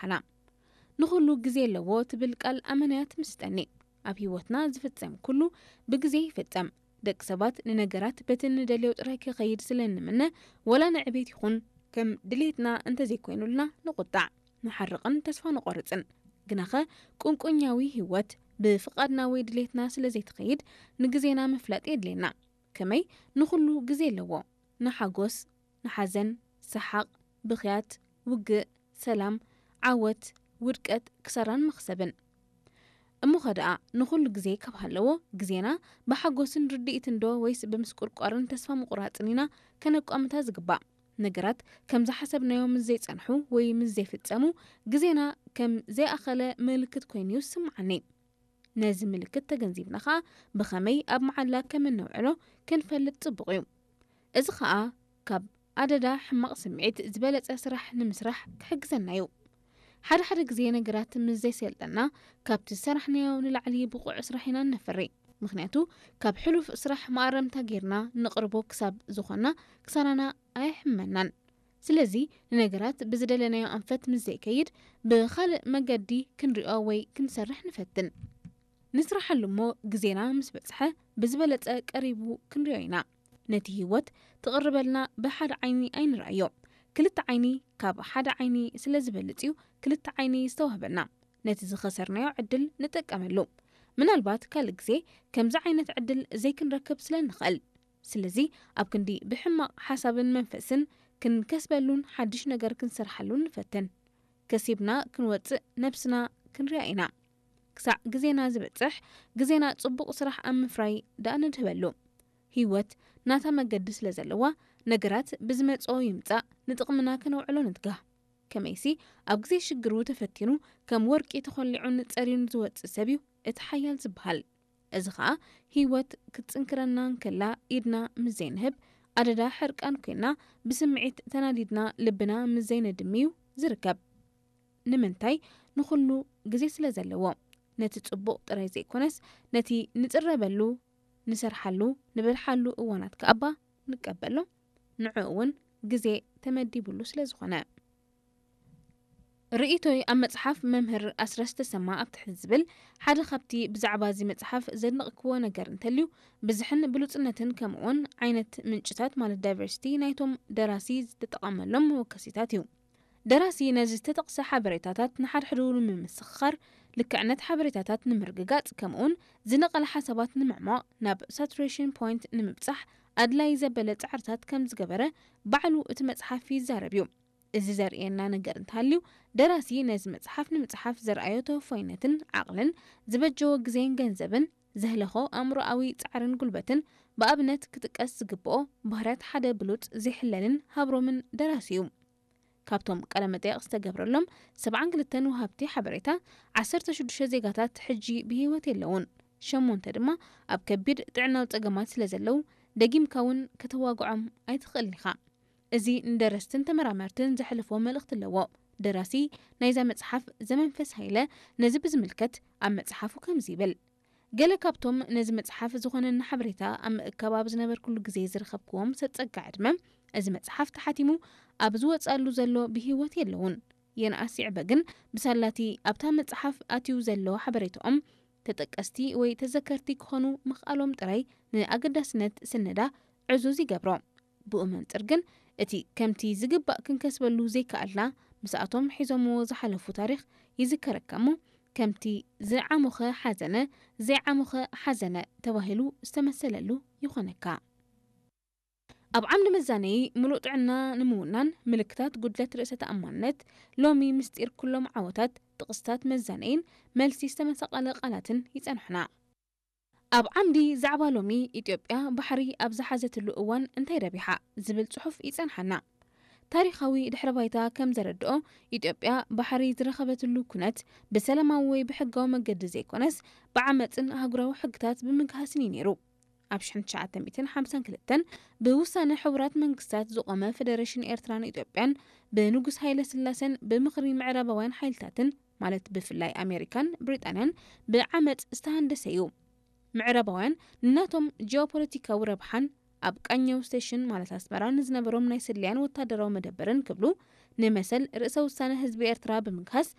ሓና። ንኹሉ ግዜ ኣለዎ ትብል ቃል ኣመናያ ትምስጠኒ። ኣብ ህይወትና ዝፍጸም ኩሉ ብግዜ ይፍጸም። ደቂ ሰባት ንነገራት በቲ ንደልዮ ጥራይ ክኸይድ ስለ እንምነ፣ ወላ ንዕቤት ይኹን ከም ድሌትና እንተዘይኮይኑልና ንቑጣዕ፣ ንሓርቕን ተስፋ ንቖርጽን። ግናኸ ቁንቁኛዊ ህይወት ብፍቓድና ወይ ድሌትና ስለ ዘይትኸይድ፣ ንግዜና ምፍላጥ የድልየና። ከመይ ንኹሉ ግዜ ኣለዎ። ንሓጎስ፣ ንሓዘን፣ ሰሓቕ፣ ብኽያት፣ ውግእ፣ ሰላም፣ ዓወት፣ ውድቀት፣ ክሳራን መኽሰብን። እሞኸ ደኣ ንኹሉ ግዜ ካብ ሃለዎ፣ ግዜና ብሓጎስን ርድኢትን ዶ ወይስ ብምስቁርቋርን ተስፋ ምቑራጽን ኢና ከነቋምታ ዝግባእ? ነገራት ከም ዝሓሰብናዮ ምስ ዘይጸንሑ ወይ ምስ ዘይፍጸሙ፣ ግዜና ከም ዘይኣኸለ ምልክት ኮይኑ እዩ ዝስምዓኒ። ነዚ ምልክት ተገንዚብና ኸኣ ብኸመይ ኣብ መዓላ ከም እነውዕሎ ክንፈልጥ ጽቡቕ እዩ። እዚ ኸኣ ካብ ኣደዳ ሕማቕ ስምዒት ዝበለጸ ስራሕ ንምስራሕ ክሕግዘና እዩ። ሓደ ሓደ ግዜ ነገራት ምስ ዘይሰልጠና ካብቲ ዝሰራሕናዮ ንላዕሊ ብቑዕ ስራሕ ኢና እነፍሪ። ምኽንያቱ ካብ ሕሉፍ ስራሕ መኣረምታ ጌርና ንቕርቦ ክሳብ ዝኾና ክሳራና ኣይሕመናን። ስለዚ ንነገራት ብዝደለናዮ ኣንፈት ምስ ዘይከይድ ብኻልእ መገዲ ክንሪኦ ወይ ክንሰርሕ ንፈትን። ንስራሓሉ እሞ ግዜና ምስ በጽሐ ብዝበለጸ ቀሪቡ ክንሪኦ ኢና። ነቲ ህይወት ትቕርበልና ብሓደ ዓይኒ ኣይንርኣዮ። ክልተ ዓይኒ ካብ ሓደ ዓይኒ ስለ ዝበልጽ እዩ ክልተ ዓይኒ ዝተዋህበና። ነቲ ዝኸሰርናዮ ዕድል ንጥቀመሉ። ምናልባት ካልእ ግዜ ከምዚ ዓይነት ዕድል ዘይክንረክብ ስለ ንኽእል። ስለዚ ኣብ ክንዲ ብሕማቕ ሓሳብን መንፈስን ክንከስበሉን ሓድሽ ነገር ክንሰርሓሉን ንፈትን። ከሲብና ክንወጽእ ነብስና ክንሪኣ ኢና። ክሳዕ ግዜና ዝበጽሕ ግዜና ጽቡቕ ስራሕ ኣብ ምፍራይ ደኣ ንድህበሉ። ህይወት ናታ መገዲ ስለ ዘለዋ ነገራት ብዝመጽኦ ይምጻእ ንጥቕምና ከነውዕሎ ንትጋህ። ከመይሲ ኣብ ግዜ ሽግሩ ተፈቲኑ ከም ወርቂ ተኾሊዑን ጸርዩን ዝወጽእ ሰብ እዩ እቲ ሓያል ዝበሃል። እዚ ኸኣ ህይወት ክትጽንክረና እንከላ ኢድና ምስ ዘይንህብ ኣደዳ ሕርቃን ኮይና ብስምዒት ተናዲድና ልብና ምስ ዘይነድሚ እዩ ዝርከብ። ንምንታይ? ንኹሉ ግዜ ስለ ዘለዎ። ነቲ ጽቡቕ ጥራይ ዘይኮነስ ነቲ ንጽረበሉ፣ ንሰርሓሉ፣ ንበልሓሉ እዋናት ከኣባ ንቀበሎ። ንዕኡ እውን ግዜ ተመዲቡሉ ስለ ዝኾነ። ርእይቶይ ኣብ መጽሓፍ መምህር ኣስረስ ተሰማ ኣብ ትሕቲ ዝብል ሓደ ካብቲ ብዛዕባ እዚ መጽሓፍ ዘድነቕክዎ ነገር እንተልዩ ብዝሕን ብሉጽነትን ከምኡውን ዓይነት ምንጭታት ማለት ዳይቨርሲቲ ናይቶም ደራሲ ዝተጠቐመሎም መወከሲታት እዩ። ደራሲ ነዚ ዝተጠቕሰ ሓበሬታታት ንሓድሕዱ ንምምስኻር፣ ልክዕነት ሓበሬታታት ንምርግጋጽ ከምኡውን ዝነቐለ ሓሳባት ንምዕሟቕ ናብ ሳቱሬሽን ፖይንት ንምብጻሕ ኣድላይ ዘበለ ጻዕርታት ከም ዝገበረ ባዕሉ እቲ መጽሓፍ ይዛረብ እዩ። እዚ ዘርእየና ነገር እንተሃልዩ፣ ደራሲ ነዚ መጽሓፍ ንምጽሓፍ ዘርኣዮ ተወፋይነትን ዓቕልን፣ ዝበጀዎ ግዜን ገንዘብን፣ ዘህለኾ ኣእምሮኣዊ ጻዕርን ጉልበትን ብኣብነት ክጥቀስ ዝግብኦ ባህርያት ሓደ ብሉጽ፣ ዘይሕለልን ሃብሮምን ደራሲ እዩ። ካብቶም ቃለ መጠየቕ ዝተገብረሎም ሰብዓን ክልተን ወሃብቲ ሓበሬታ፣ ዓሰርተ ሽዱሽተ ዜጋታት ሕጂ ብህይወት የለውን። ሸሞንተ ድማ ኣብ ከቢድ ጥዕናዊ ጸገማት ስለ ዘለዉ፣ ደጊምካ እውን ከተዋግዖም ኣይትኽእልን ኢኻ። እዚ ንደረስትን ተመራመርትን ዘሕልፎ መልእኽቲ ኣለዎ። ደራሲ ናይዛ መጽሓፍ ዘመንፈስ ሃይለ ነዚ ብዝምልከት ኣብ መጽሓፉ ከምዚ ይብል። ገለ ካብቶም ነዚ መጽሓፍ ዝኾነኒ ሓበሬታ ኣብ ምእካብ ኣብ ዝነበርኩሉ ግዜ ዝረኸብክዎም ሰጸጋ ዕድመ፣ እዚ መጽሓፍ ተሓቲሙ ኣብ ዝወጻሉ ዘሎ ብህይወት የለውን። የንኣስ ይዕበ ግን ብሳላቲ ኣብታ መጽሓፍ ኣትዩ ዘሎ ሓበሬታኦም ተጠቀስቲ ወይ ተዘከርቲ ክኾኑ ምኽኣሎም ጥራይ ንኣገዳስነት ስነዳ ዕዙዝ ይገብሮ። ብኡ መንጽር ግን እቲ ከምቲ ዝግባእ ክንከስበሉ ዘይከኣልና ምስኣቶም ሒዞምዎ ዝሓለፉ ታሪኽ ይዝከረካ እሞ ከምቲ ዝዓሞኸ ሓዘነ ዘይዓሞኸ ሓዘነ ተባሂሉ ዝተመሰለሉ ይኾነካ። ኣብ ዓምዲ መዛነዪ ምሉእ ጥዕና ንምውናን ምልክታት ጉድለት ርእሰ ተኣማንነት ሎሚ ምስጢር ኩሎም ዓወታት ጥቕስታት መዛነይን መልሲ ዝተመሳቐለ ቃላትን ይጸንሑና። ኣብ ዓምዲ ዛዕባ ሎሚ ኢትዮጵያ ባሕሪ ኣብ ዝሓዘትሉ እዋን እንታይ ረቢሓ ዝብል ጽሑፍ ይጸንሓና። ታሪኻዊ ድሕረ ባይታ ከም ዘረድኦ ኢትዮጵያ ባሕሪ ዝረኸበትሉ ኩነት ብሰላማዊ ወይ ብሕጋዊ መገዲ ዘይኮነስ ብዓመጽን ኣህጉራዊ ሕግታት ብምግሃስን እዩ ነይሩ። ኣብ ሽሕን ትሽዓተ ሚእትን ሓምሳን ክልተን ብውሳነ ሕቡራት መንግስታት ዝቖመ ፈደረሽን ኤርትራን ኢትዮጵያን ብንጉስ ሃይለ ስላሰን ብምኽሪ ምዕራባውያን ሓይልታትን ማለት ብፍላይ ኣሜሪካን ብሪጣንያን ብዓመጽ ዝተሃንደሰ እዩ። ምዕራባውያን ንናቶም ጂኦፖለቲካዊ ረብሓን ኣብ ቃኘው ስቴሽን ማለት ኣስመራ ንዝነበሮም ናይ ስለያን ወታደራዊ መደበርን ክብሉ ንመሰል ርእሰ ውሳነ ህዝቢ ኤርትራ ብምግሃስ